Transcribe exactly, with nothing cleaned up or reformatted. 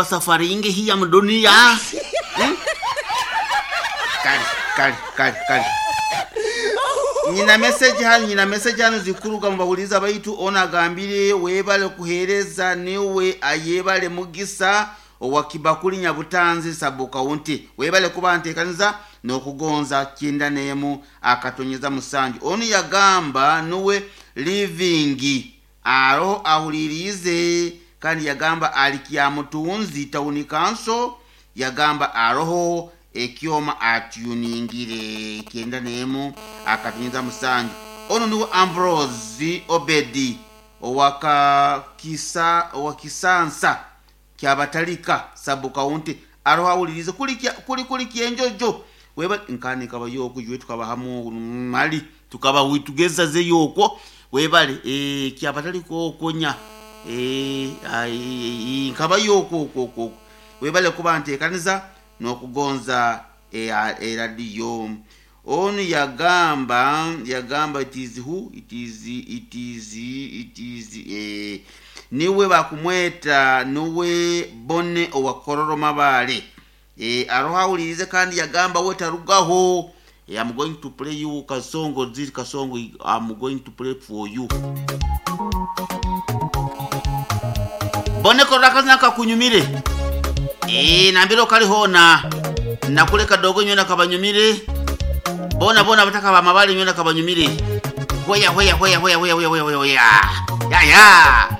Safari ingi hii ya mdunia, hmm? Kale kale kale kale, nyina message hano, nyina message hano zikuruga mubawuliza baitu. Ono agambire webale kuhereza, niwe ayebale Mugisa owa Kibakuli Nyabutanzi sub county. Webale kuba ntekaniza n'okugonza kyenda n'emu akatonyeza musanju. Onu yagamba nuwe Living aroho ahulirize, kandi yagamba ali Kyamutunzi town council. Yagamba aroho ekyoma atyuningire kyenda n'emu akatonyeza musanju. Ono niwe Ambrose Obedi owakakisa owakisansa kyabatalika sub county, aroho awulirize kuli kuli kuli kyenjojo. Weba nkani kabayoko jwe tukabahamu mali tukaba witugeza zeyoko. Webale e, kyabatalika okonya e, ai, nkabayoko okwo okwo. Webale kuba ntekaniza n'okugonza eradiyo. Onu yagamba yagamba it is who it is, it is, it is eh, niwe bakumweta niwe Bone owakororo Mabale eh, aroho awulirize, kandi yagamba we tarugaho. eh, I'm going to play you kasongo, this kasongo I'm going to play for you. Bone korora kazina kakunyumire eh, nambiro kalihona nakuleka dogo nywena kabanyumire bona bona bataka ba Mabale nywena kabanyumire. Hweya hweya hweya hweya hweya hweya hweya hweya ya ya.